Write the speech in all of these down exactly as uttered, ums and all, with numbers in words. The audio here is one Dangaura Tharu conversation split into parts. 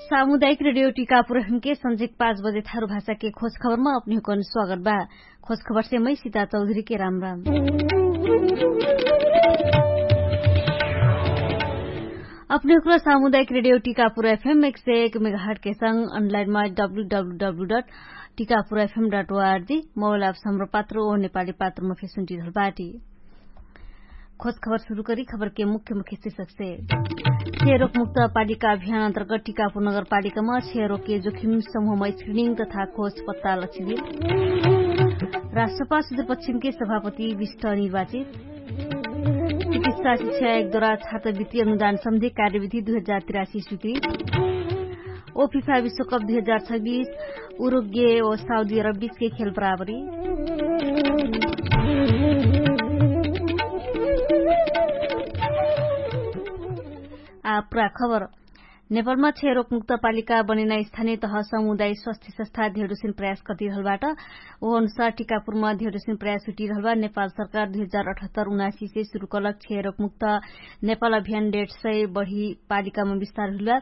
सामुदायिक रेडियो टिकापुर एफएम के संझेक पाँच बजे थारु भाषा के खोज खबरमा अपने हुकन स्वागत बा। खोज खबर से मै सिता चौधरी के राम राम। अपने हुकन सामुदायिक रेडियो टिकापुर एफएम एक सय एक मेगाहट के संग अनलाइनमा W W W dot Tikapur FM dot ORG mobile app सम्र पात्र ओ नेपाली पात्रमा फेसुन्टी धल बाटी। खोज खबर सुरु करी खबर के मुख्य मुख्य शीर्षक से। छेरोक मुक्त पालिका अभियान अन्तर्गत टिकापुर नगरपालिकामा छेरोक के जोखिम समूहमा स्क्रिनिङ तथा खोज पत्ता लक्षिदिल। राष्ट्रपा सुदूरपश्चिम के सभापति विष्ट निर्वाचित। चिकित्सा शिक्षा एक द्वारा छात्रवृत्ति अनुदान सम्बन्धी कार्यविधि दुई हजार तिरासी स्वीकृत। ओ फिफा विश्वकप दुई हजार छब्बिस उरुग्गे ओ साउदी अरब बीचके खेल बराबरी। आ पुरा खबर। नेपालमा क्षयरोग मुक्त पालिका बनेना स्थानीय तह समुदाय स्वास्थ्य संस्था धेडुसिन प्रयास कटिरहलबाट। ओ अनुसार टिकापुरमा धेडुसिन प्रयास हुटिरहलबा नेपाल सरकार दुई हजार अठहत्तर उनासी से सुरु कलक क्षयरोग मुक्त नेपाल अभियान डेढ सय बढी पालिकामा विस्तार हुलबा।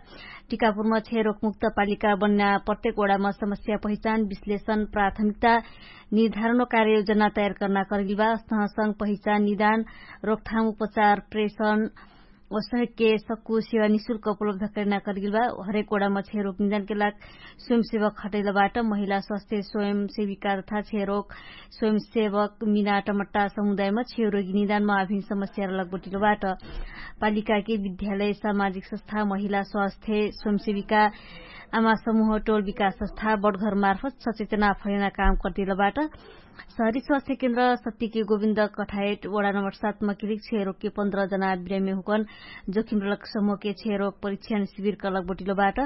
टिकापुरमा क्षयरोग मुक्त पालिका बन्ना प्रत्येक वडामा समस्या पहिचान विश्लेषण प्राथमिकता निर्धारण व कार्ययोजना तयार कर्ना करगिलबा। अस्तहसंग पहिचान निदान रोकथाम उपचार प्रेषण ओ सहके सक्कु सेवा निशुल्क उपलब्ध करना करगिलबा। हरेक वडामा क्षयरोग निदानके लाग स्वयंसेवक खटैलबाट महिला स्वास्थ्य स्वयंसेविका तथा क्षयरोग स्वयंसेवक मिनाटमट्टा समुदायमा क्षयरोगी निदानमा आभिन समस्या लगबटिलबाट। पालिकाके विद्यालय सामाजिक संस्था महिला स्वास्थ्य स्वयंसेविका आमा समूह टोल विकास संस्था बडघर मार्फत सचेतना फैना काम कटिलबाट। सहरी स्वास्थ्य केन्द्र सत्तिके गोविन्द कठायट वडा नम्बर सातमा किरिक क्षयरोगके पन्ध्र जना बिरामी हुकन जोखिम रलक समूहके क्षयरोग परीक्षण शिविर कलक बटिलोबाट।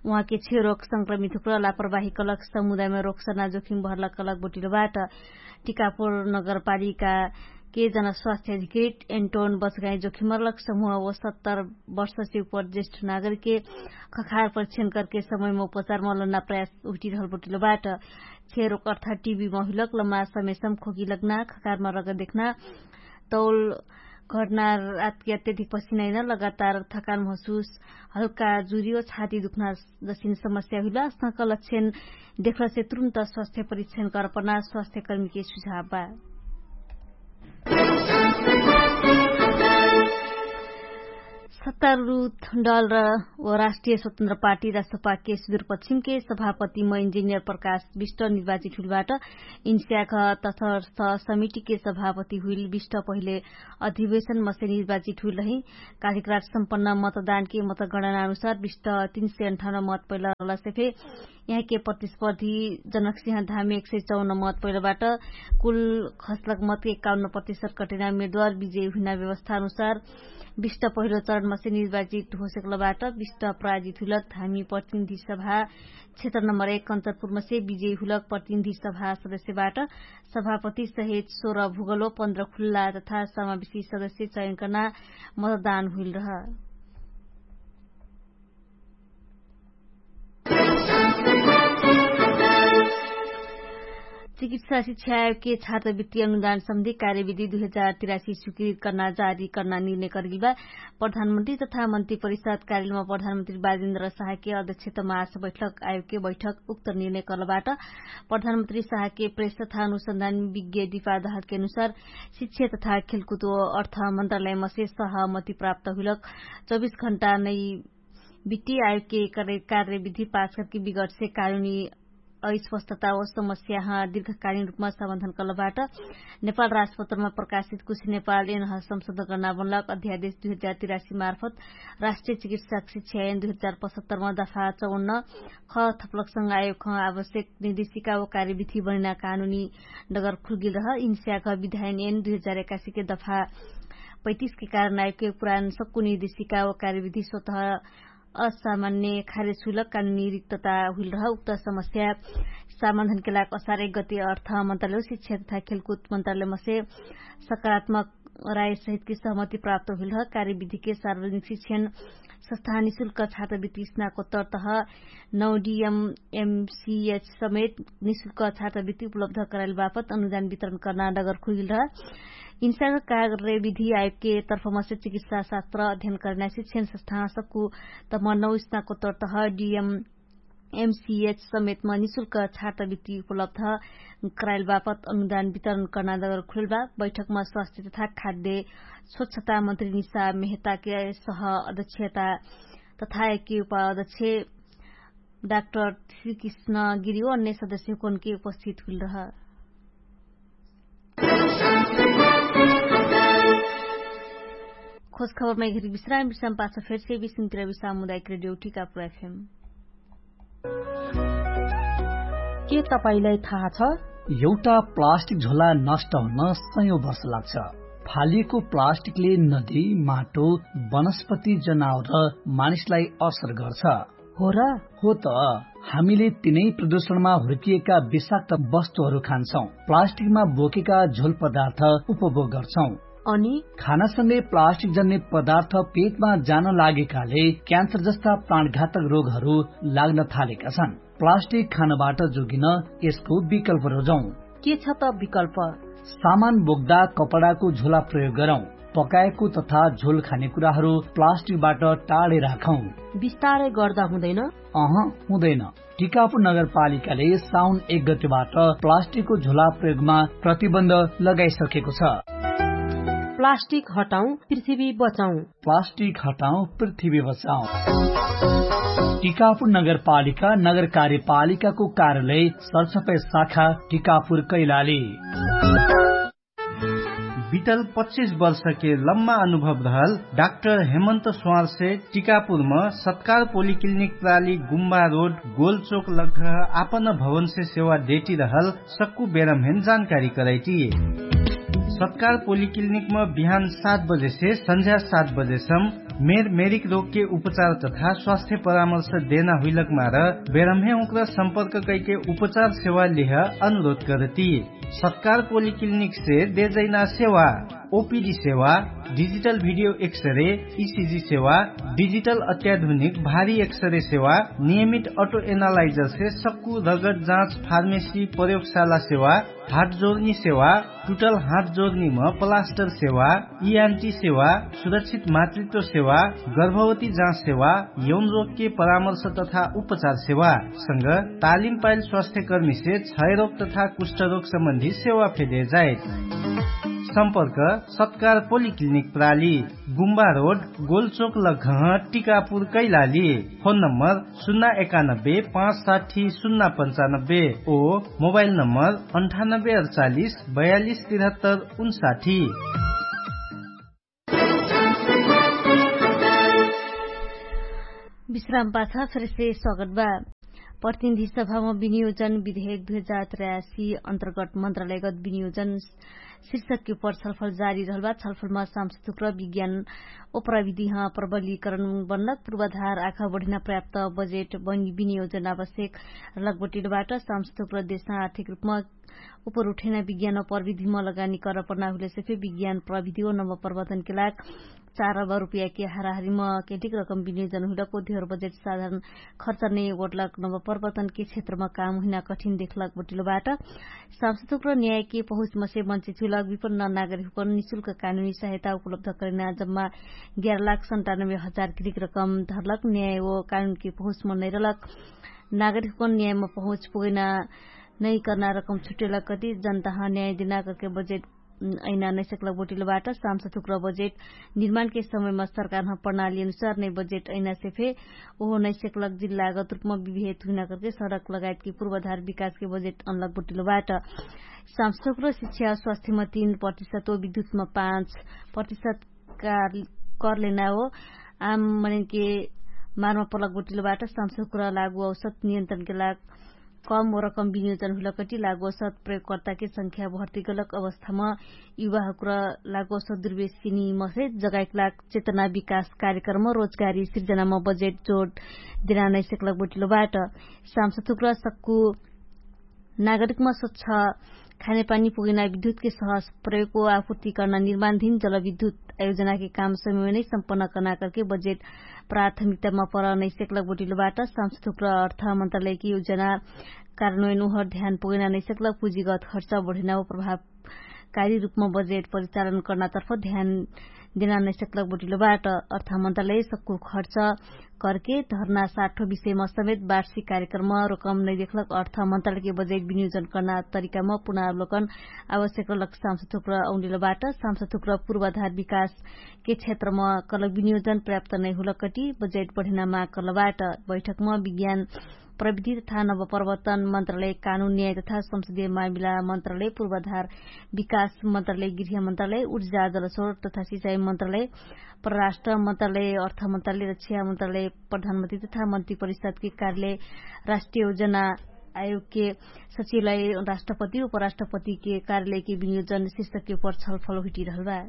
उहाँके क्षयरोग संक्रमित हुक्र लापरवाही कलक समुदायमा रोक्सना जोखिम भरलक कलक बटिलोबाट। टिकापुर नगरपालिका के जनस्वास्थ्य अधिकृत एन्टोन बचगाई जोखिम रलक समूह व सत्तर वर्ष से उपर ज्येष्ठ नागरिके खखार परीक्षण करके समयमा उपचारमा लन्ना प्रयास उटिरहल बटिलोबाट। क्षयरोग अर्थ टिबी महिलक लम्मा समेसम खोकी लग्ना खकारमा रग देख्ना तौल घटना रातकी अत्यधिक पसिनाइन लगातार थकान महसुस हल्का जुरी व छाती दुख्ना जसिन समस्या हुइला। अस्तक लक्षण देखलसे तुरुन्त स्वास्थ्य परीक्षण करपना स्वास्थ्यकर्मीके सुझाव बा। सत्तारुढ दल र राष्ट्रिय स्वतन्त्र पार्टी राष्ट्रपाके सुदूरपश्चिमके सभापतिम इन्जिनियर प्रकाश विष्ट निर्वाचित हुइलबाट। इन्स्याख तथर्थ समितिके सभापति हुइल विष्ट पहिले अधिवेशनमसे निर्वाचित हुइल रहि। कालिकराट सम्पन्न मतदानके मतगणना अनुसार विष्ट तीन सय अन्ठाउन्न मत पैला रहलसे फे यहाँके प्रतिस्पर्धी जनकसिंह धामी एक सय चौन्न मत पैलाबाट कुल खसलक मत एकाउन्न प्रतिशत कटेना उमेदवार विजय हुइना व्यवस्था अनुसार विष्ट पहिलो चरणमसे निर्वाचित होसकलबाट विष्ट प्राजित हुइलक धामी प्रतिनिधि सभा क्षेत्र नम्बर एक कन्चनपुरमसे विजय हुइलक प्रतिनिधि सभा सदस्यबाट सभापति सहित सोह्र भूगोलो पन्ध्र खुल्ला तथा समावेशी सदस्य चयन कर्ना मतदान हुइल रह। चिकित्सा शिक्षा आयोगके छात्रवृत्ति अनुदान सम्बन्धी कार्यविधि दुई हजार तिरासी स्वीकृत कर्ना जारी कर्ना निर्णय कर्गिलबा। प्रधानमन्त्री तथा मन्त्री परिषद कार्यलयमा प्रधानमन्त्री बाजेन्द्र साहके अध्यक्षतमा आस बैठक आयोगके बैठक उक्त निर्णय कर्लबाट। प्रधानमन्त्री साहके प्रेस तथा अनुसन्धान विज्ञ दिपादहरके अनुसार शिक्षा तथा खेलकुद अर्थ मन्त्रालयमसे सहमति प्राप्त हुइलक चौबिस घण्टा नै बिट्टी आयोगके कार्यविधि पास करके विगटसे कानुनी अस्पष्टता व समस्याह दीर्घकालीन रूपमा समाधान कर्लबाट। नेपाल राजपत्रमा प्रकाशित कुछ नेपाल एनह संशोधन कर्ना बनलक अध्यादेश दुई हजार तिरासी मार्फत राष्ट्रिय चिकित्सा शिक्षा एन दुई हजार पचहत्तरमा दफा चौन्न ख थपलकसँग आयोगह आवश्यक निर्देशिका व कार्यविधि बनेना कानुनी डगर खुल्गिल रह। इन्स्याक विधायन एन दुई हजार एकासीके दफा पैतिसके कारण आयोगके पुरान सक्कु निर्देशिका व कार्यविधि स्वतः असामान्य खारेज हुइलक कानुनी रिक्तता हुइल रह। उक्त समस्या समाधानके लाग असार एक गति अर्थ मन्त्रालय शिक्षा तथा खेलकुद मन्त्रालयमसे सकारात्मक राय सहितके सहमति प्राप्त हुइल रह। कार्यविधिके सार्वजनिक शिक्षण संस्था निशुल्क छात्रवृत्ति स्नाकोत्तर तह नौ डिएमएमसिएच समेत निशुल्क छात्रवृत्ति उपलब्ध कराइल बापत अनुदान वितरण कर्ना डगर खुइल रह। इन्साका कार्य विधि आयोगके तर्फमसे चिकित्सा शास्त्र अध्ययन करना शिक्षण सस्थान सक्कु तम नौ स्नाकोत्तर तह डिएम एमसिएच समेतमा निशुल्क छात्रवृत्ति उपलब्ध कराइल बापत अनुदान वितरण कर्नादगर खुलबा। बैठकमा स्वास्थ्य तथा खाद्य स्वच्छता मन्त्री निशा मेहताके सह अध्यक्षता तथा एके उपाध्यक्ष डाक्टर श्रीकृष्ण गिरी ओ अन्य सदस्य हुकनके उपस्थित हुइल रह। खोज खबरमा एघरी विश्राम विश्राम पाछ फेरसे विश्राम सामुदायिक रेडियो टिकापुर एफएम। के तपाईंलाई थाहा छ? एउटा प्लास्टिक झोला नष्ट हुन सयौं वर्ष लाग्छ। फालिएको प्लास्टिकले नदी, माटो, वनस्पति, जनावर र मानिसलाई असर गर्छ। हो र? हो त। हामीले तिनै प्रदूषणमा हुर्किएका विषाक्त वस्तुहरू खान्छौं, प्लास्टिकमा बोकेका झोल पदार्थ उपभोग गर्छौं। अनि खानासँगै प्लास्टिक जन्ने पदार्थ पेटमा जान लागेकाले क्यान्सर जस्ता प्राणघातक रोगहरू लाग्न थालेका छन्। प्लास्टिक खानबाट जोगिन यसको विकल्प रोजौं। के छ त विकल्प? सामान बोक्दा कपडाको झोला प्रयोग गरौं। पकाएको तथा झोल खाने कुराहरू प्लास्टिकबाट टाढे राखौं। बिस्तारै गर्दा हुँदैन? अह, हुँदैन। टिकापुर नगरपालिकाले साउन एक गतिबाट प्लास्टिकको झोला प्रयोगमा प्रतिबन्ध लगाइसकेको छ। प्लास्टिक हटाउँ, पृथ्वी बचाउँ। प्लास्टिक हटाउँ, पृथ्वी बचाउँ। टिकापुर नगरपालिका नगर कार्यपालिकाको कार्यालय सरसफाइ शाखा टिकापुर कैलाली। बितल पच्चिस वर्षके लम्मा अनुभव रहल डाक्टर हेमन्त स्वारसे टिकापुरम सत्कार पोलिक्लिनिक प्राली गुम्बा रोड गोलचोक लग्घ आपन भवनसे सेवा डेटी रहल सक्कु बेरमहेन जानकारी करैटी। सत्कार पोलिक्लिनिकम बिहान सात बजेसे सन्झ्या सात बजेसम मेर मेरिक रोगके उपचार तथा स्वास्थ्य परामर्श देना हुइलक मार बेरमहे उक्र सम्पर्क कैके उपचार सेवा लेह अनुरोध करती। सत्कार पोलिक्लिनिकसे देजैना सेवा ओपिडी सेवा, डिजिटल भिडियो एक्सरे, इसिजी सेवा, डिजिटल अत्याधुनिक भारी एक्सरे सेवा, नियमित अटो एनालाइजरसे सक्कु रगत जाँच फार्मेसी प्रयोगशाला सेवा, हात जोर्नी सेवा, टुटल हात जोर्नीम प्लास्टर सेवा, इआन्टी सेवा, सुरक्षित मातृत्व सेवा, गर्भवती जाँच सेवा, यौन रोगके परामर्श तथा उपचार सेवा संग तालिम पाइल स्वास्थ्यकर्मीसे क्षयरोग तथा कुष्ठरोग सम्बन्धी सेवा फेदे जाए। सम्पर्क सत्कार पोलिक्लिनिक प्राली, गुम्बा रोड, गोलचोक लघह, टिकापुर कैलाली। फोन नम्बर सुन्ना एकानब्बे पाँच साठी सुन्ना पन्चानब्बे ओ मोबाइल नम्बर अन्ठानब्बे अडचालिस बयालिस तिरहत्तर उन्साठी। विश्राम पाछा फेरसे स्वागत बा। प्रतिनिधि सभामा विनियोजन विधेयक दुई हजार त्रियासी अन्तर्गत मन्त्रालयगत विनियोजन शीर्षकके उपर छलफल जारी रहलबा। छलफलमा सांसदुक्र विज्ञान ओ प्रविधिह प्रबलीकरण बन्नक पूर्वाधार आखा बढिना पर्याप्त बजेट विनियोजन आवश्यक लगबटिलबाट। सांसदुक्र देशमा आर्थिक रूपमा उपर उठेना विज्ञान प्रविधिम लगानी कर पर्ना हुइलेसे फे विज्ञान प्रविधि ओ नम्बर प्रवर्तनके लाग चार अरब रुपियाके हाराहारीम केटिक रकम विनियोजन हुइलक ओ धेर बजेट साधारण खर्च नै ओटलक नम्बर प्रवर्तनके क्षेत्रम काम हुइना कठिन देखलक बटिलबाट। सांसदुक्र न्यायके पहुँचमसे मन्चे चुलक विपन्न नागरिकपन निशुल्क कानुनी सहायता उपलब्ध करेना जम्मा ग्यार लाख सन्तानब्बे हजार किरिक रकम धरलक न्याय ओ कानुनके पहुँचम नैरलक नागरिकपन न्यायम पहुँच पुगैना नैकर्ना रकम छुट्टेलक कति जनताह न्याय दिना करके बजेट ऐना नैसेकलक बोटिलबाट। सामसथुक्र बजेट निर्माणके समयमा सरकारह प्रणाली अनुसार नै बजेट ऐनासे फे ओहो नैसेकलक जिल्लागत रूपमा विभेद हुइना करके सडक लगायतके पूर्वाधार विकासके बजेट अनलक बोटिलबाट। सामसथुक्र शिक्षा स्वास्थ्यमा तीन प्रतिशत ओ विद्युतमा पाँच प्रतिशत कर लेना हो। आम मनेनके मारमा पलक बोटिलबाट सामसथुक्र लागु औसत नियन्त्रणके लाग कम रकम विनियोजन हुइलकटी लागोसत प्रयोगकर्ताके संख्या भर्तिगलक अवस्थामा युवाहुक्र लागोसत दुर्वेशिनी मसे जगाइकलाग चेतना विकास कार्यक्रम रोजगारी सिर्जनामा बजेट जोड दिनानैसेकलक बोटिलो बाट। सामसथुक्र सक्कु नागरिकमा स्वच्छ खानेपानी पुगेना विद्युतके सहस प्रयोगको आपुर्तिकर्ना निर्माणधिन जलविद्युत आयोजनाके काम समयमा नै सम्पन्न कर्ना करके बजेट प्राथमिकतामा पर नैसेकलक बोटिलो बाट। सामसथुक्र अर्थ मन्त्रालयके योजना कारण ओइन उहर ध्यान पुगेना नैसकलक पुजिगत खर्च बढेना ओ प्रभाव कारी रूपमा बजेट परिचालन कर्नातर्फ ध्यान देना नैसक्लक बटिलो बाट। अर्थमन्त्रालय सक्कु खर्च करके धर्ना साठो विषयमा समेत वार्षिक कार्यक्रम रकम नैदेख्लक। अर्थमन्त्रालयके बजेट विनियोजन कर्ना तरिकामा पुनावलोकन आवश्यक रहलक। सामसथुक्र औनिलो बाट सामसथुक्र पूर्वाधार विकासके क्षेत्रमा कलक विनियोजन पर्याप्त नैहुलक कटी बजेट बढेना माग कर्ल बाट। बैठकमा विज्ञान प्रविधि तथा नवपरिवर्तन मन्त्रालय कानुन न्याय तथा संसदीय मामिला मन्त्रालय पूर्वाधार विकास मन्त्रालय गृह मन्त्रालय उर्जा जलसोर तथा सिचाई मन्त्रालय परराष्ट्र मन्त्रालय अर्थ मन्त्रालय रक्षा मन्त्रालय प्रधानमन्त्री तथा मन्त्री परिषदके कार्यालय राष्ट्रिय योजना आयोगके सचिवलाई राष्ट्रपति उपराष्ट्रपतिके कार्यालयके विनियोजन शिर्षकके उपर छलफल हुइटिरहल बा।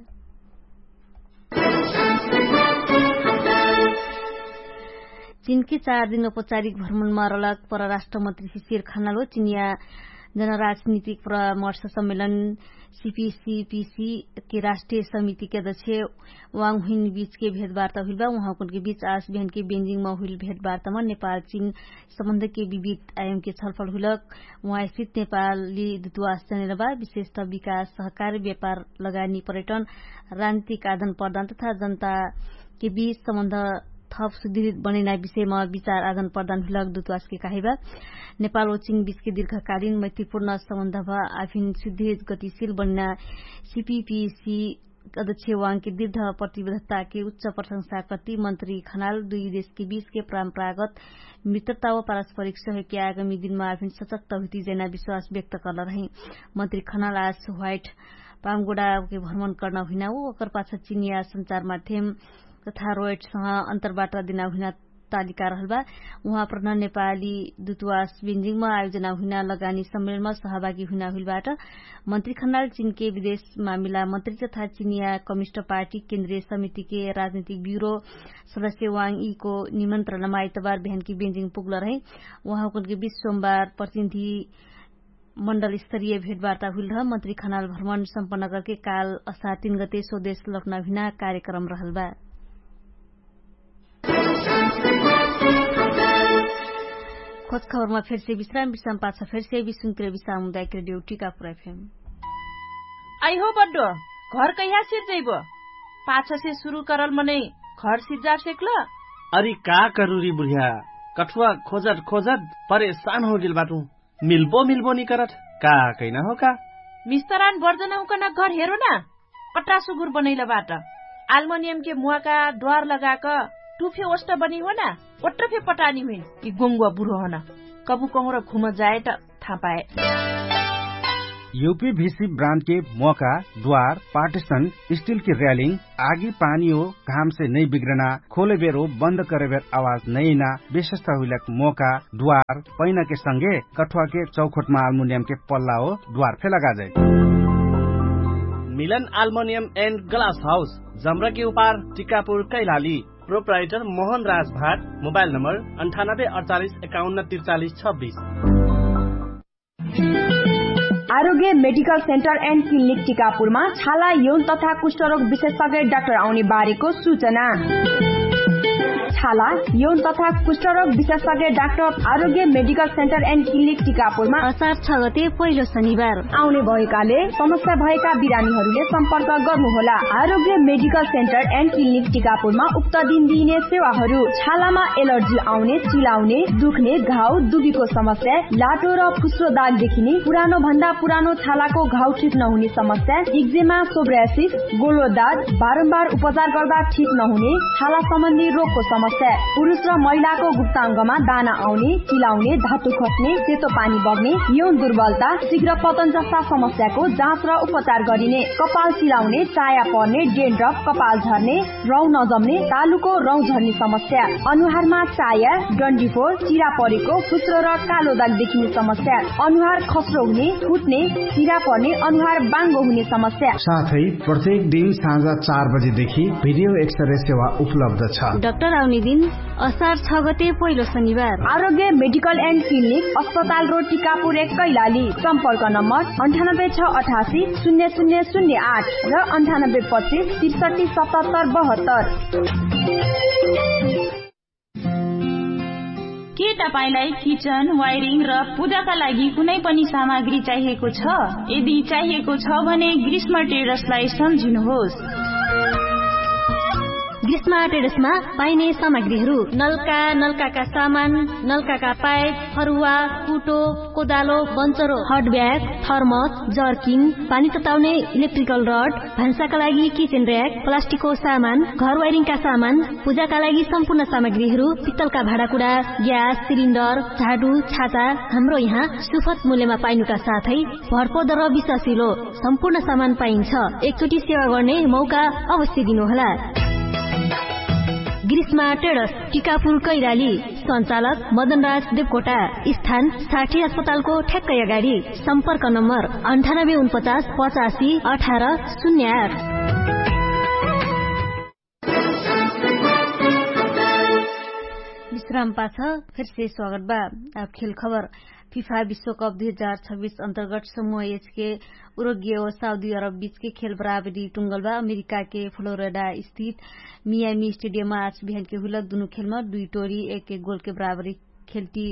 चिनके चार दिन औपचारिक भ्रमणमा रलक परराष्ट्रमन्त्री सिसिर खानालो चिनिया जनराजनितिक परामर्श सम्मेलन सिपिसिपिसिके राष्ट्रिय समितिके अध्यक्ष वाङहुइन बिचके भेटवार्ता हुइल बा। उहाँकुनके बिच आस बिहानके बेन्जिङमा हुइल भेटवार्तामा नेपाल चिन सम्बन्धके विविध आयोगके छलफल हुइलक। उहाँ स्थित नेपाली दुतवास जनेर बा विशेषत विकास सहकार व्यापार लगानी पर्यटन राजनितिक आदान प्रदान तथा जनताके बिच सम्बन्ध थप सुदृढ बनैना विषयमा विचार आदान प्रदान हुइलक दुतवासके काहिबा। नेपाल ओ चिन बिचके दीर्घकालीन मैत्रीपूर्ण सम्बन्ध भा आफिन सुदृढ गतिशील बनैना सिपिपिसी अध्यक्ष वाङके दृढ प्रतिबद्धताके उच्च प्रशंसा कति मन्त्री खनाल दुई देशके बिचके परम्परागत मित्रता व पारस्परिक सहयोगके आगामी दिनमा आफिन सचक्त हुइती जैना विश्वास व्यक्त कर्ल रही। मन्त्री खनाल आज ह्वाइट पामगुडाके भ्रमण कर्न हुइना उ ओकर पाछ चिनिया सञ्चार माध्यम तथा रोयटसँग अन्तरवार्ता दिना हुइना तालिका रहल बा। उहाँ प्रधान नेपाली दुतवास बेन्जिङमा आयोजना हुइना लगानी सम्मेलनमा सहभागी हुइना हुइल बाट। मन्त्री खनाल चिनके विदेश मामिला मन्त्री तथा चिनिया कमिस्ट पार्टी केन्द्रीय समितिके राजनितिक ब्युरो सदस्य वाङ यीको निमन्त्रणमा आइतबार बिहानकी बेन्जिङ पुग्ल रहे। उहाँकुनके बिच सोमबार प्रतिनिधि मण्डल स्तरीय भेटवार्ता हुइल रह मन्त्री खनाल भ्रमण सम्पन्न करके काल असार तीन गते स्वदेश लौटना हुइना कार्यक्रम रहल बा। खोज खबरमा फेरसे विश्राम विश्राम पाछ फेरसे विश्वन्तिर विश्राम हुँदा एक रेडियो टिका पुरा फेम। आइहो बड्डो, घर कैहा सिर जैबो? पाछसे सुरु करल मनै घर सिज्जार सेक्ल? अरि का करुरी बुढिया, कठुवा खोजट खोजट परेशान होगेल बाटु। मिल्बो मिल्बो निकरट का कैना हो का? मिस्तरान बर्जन हुँकन घर हेरो ना। कट्रा सुगुर बनैल बाट। आल्मनियमके मुवाका द्वार लगाक टुफे ओष्ट बनी हो ना। ओट्र फे पटानी हुइन कि गोङ्गुवा बुढो हन। कबु कहुँर घुम जाएट थापाए। युपी भिसी ब्रान्डके मोका द्वार पार्टिसन स्टिलके र्यालिङ आगी पानी हो घामसे नै बिग्रना खोलेबेर हो बन्द करेबेर आवाज नैना विशेषता हुइलक मोका द्वार पैनाके संगे कठुवाके चौखोटमा आल्मुनियमके पल्ला हो द्वार फे लगाजै। मिलन आल्मुनियम एन्ड ग्लास हाउस जम्रके उपार टिकापुर कैलाली। प्रोप्राइटर मोहन राज भाट। मोबाइल नम्बर अन्ठानब्बे अडचालिस एकाउन्न त्रिचालिस छब्बिस। आरोग्य मेडिकल सेन्टर एन्ड क्लिनिक टिकापुरमा छाला यौन तथा कुष्ठरोग विशेषज्ञ डाक्टर आउने बारेको सूचना। छाला यौन तथा कुष्ठरोग विशेषज्ञ डाक्टर आरोग्य मेडिकल सेन्टर एन्ड क्लिनिक टिकापुरमा असार छ गते पहिलो शनिबार आउने भएकाले समस्या भएका बिरामीहरूले सम्पर्क गर्नुहोला। आरोग्य मेडिकल सेन्टर एन्ड क्लिनिक टिकापुरमा उक्त दिन दिइने सेवाहरू छालामा एलर्जी आउने, चिलाउने, दुख्ने, घाउ दुबीको समस्या, लाटो र फुस्रो दाग देखिने, पुरानो भन्दा पुरानो छालाको घाउ ठिक नहुने समस्या, इक्जेमा, सोब्रासिस, गोलो दाग, बारम्बार उपचार गर्दा ठिक नहुने छाला सम्बन्धी रोगको समस्या, पुरुष र महिलाको गुप्ताङ्गमा दाना आउने, चिलाउने, धातु खस्ने, सेतो पानी बग्ने, यौन दुर्बलता, शीघ्र पतन जस्ता समस्याको जाँच र उपचार गरिने। कपाल चिलाउने, चाया पर्ने, डेन्ड्रफ, कपाल झर्ने, रौँ नजम्ने, तालुको रौँ झर्ने समस्या, अनुहारमा चाया, डन्डीफोर, चिरा परेको, फुस्रो र कालो दाग देखिने समस्या, अनुहार खस्रो हुने, फुट्ने, चिरा पर्ने, अनुहार बाङ्गो हुने समस्या। साथै प्रत्येक दिन साँझ चार बजेदेखि भिडियो एक्सरे सेवा उपलब्ध छ। डाक्टर आउने दिन असार छ गते पहिलो शनिबार। आरोग्य मेडिकल एन्ड क्लिनिक, अस्पताल रोड, टिकापुर एक, कैलाली। सम्पर्क नम्बर अन्ठानब्बे छ अठासी शून्य शून्य शून्य आठ र अन्ठानब्बे पच्चिस त्रिसठी सतहत्तर बहत्तर। के तपाईंलाई किचन वायरिङ र पूजाका लागि कुनै पनि सामग्री चाहिएको छ? यदि चाहिएको छ भने ग्रीष्म ट्रेडर्सलाई सम्झिनुहोस्। ग्रीष्म ट्रेडर्समा पाइने सामग्रीहरू: नलका, नलकाका सामान, नलकाका पाइप, फरुवा, कुटो, कोदालो, बन्चरो, हट ब्याग, थर्मस, जर्किन, पानी तताउने इलेक्ट्रिकल रड, भान्साका लागि किचन र्‍याक, प्लास्टिकको सामान, घर वायरिङका सामान, पूजाका लागि सम्पूर्ण सामग्रीहरू, पित्तलका भाँडाकुँडा, ग्यास सिलिन्डर, झाडु, छाता, हाम्रो यहाँ सुपथ मूल्यमा पाइनुका साथै भरपर्दो र विश्वासिलो सम्पूर्ण सामान पाइन्छ। एकचोटि सेवा गर्ने मौका अवश्य दिनुहोला। ग्रीष्मा ट्रेडर्स, टिकापुर कैलाली। सञ्चालक मदनराज देवकोटा। स्थान साठी अस्पतालको ठ्याक्कै अगाडि। सम्पर्क नम्बर अन्ठानब्बे उनपचास पचासी अठार शून्य आठ। विश्राम पाछ फेरसे स्वागत बा। आब खेल खबर। फिफा विश्वकप दुई हजार छब्बिस अन्तर्गत समूह एचके उरोग्य ओ साउदी अरब बीचके खेल बराबरी टुङ्गल बा। अमेरिकाके फ्लोरिडा स्थित मियामी स्टेडियममा आज बिहानके हुइलक दुनु खेलमा दुई टोरी एक एक गोलके बराबरी खेल्टी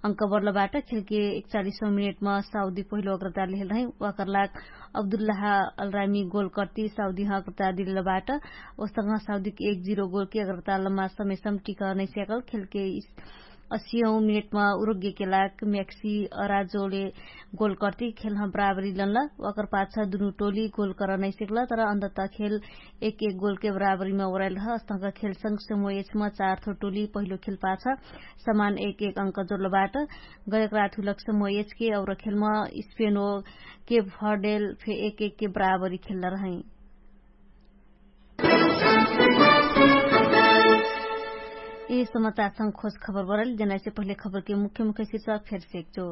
अङ्क बढ्ल बाट। खेलके एकचालिसौँ मिनेटमा साउदी पहिलो अग्रता लेहेल रहै। वाकरलाग अब्दुल्लाह अलरामी गोल कर्ती साउदीह अग्रता दिलेल बाट। ओसङ्ग साउदीके एक जिरो गोलके अग्रता लम्मा समयसम टिक नैस्याकल। खेलके असियौँ मिनेटमा उरोग्यके लाग म्याक्सी अराजोले गोल कर्ती खेलह बराबरी लन्ल। वाकर पाछ दुनु टोली गोल कर नैसेकल तर अन्तत खेल एक एक गोलके बराबरीमा ओराइल रह। अस्तक खेलसँग समूह एचमा चार थो टोली पहिलो खेल पाछ समान एक एक अङ्क जोडल बाट। गयक रात हुलक समूह एचके और खेलमा स्पेनो के भर्डेल फे एक एक के बराबरी खेल्ल रहै। यी समाचारसँग खोज खबर बरल जनाइसे पहिले खबरके मुख्य मुख्य शिर्षक फेर सेक्चो।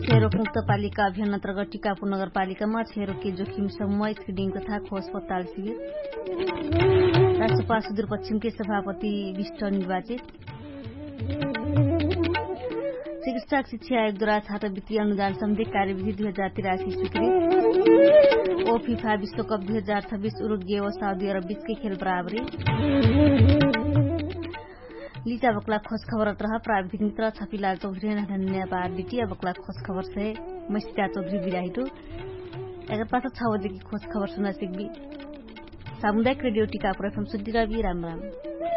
छेरोक मुक्त पालिका अभियान अन्तर्गत टिकापुर नगरपालिकामा छेरोके जोखिम सम्म स्क्रिनिङ तथा खोज पत्ताल सिविर। राष्ट्रपा सुदूरपश्चिमके सभापति विष्ट निर्वाचित। चिकित्सा शिक्षा आयोगद्वारा छात्रवृत्ति अनुदान सम्बन्धी कार्यविधि दुई हजार तिरासी स्वीकृत। ओ फिफा विश्वकप दुई हजार छब्बिस उरुग्गे ओ साउदी अरब बिचके खेल बराबरी। लिचा बक्ला खोज खबर अत्रह प्राविधिक मित्र छपिला चौधरी। धन्यवाद बिटिया बक्ला खोज खबर से मसिता चौधरी बिराहिटु। एकर पास छ बजेकी खोज खबर सुना सिकबी। सामुदायिक रेडियो टिका प्रफम सुद्धिरबी राम राम।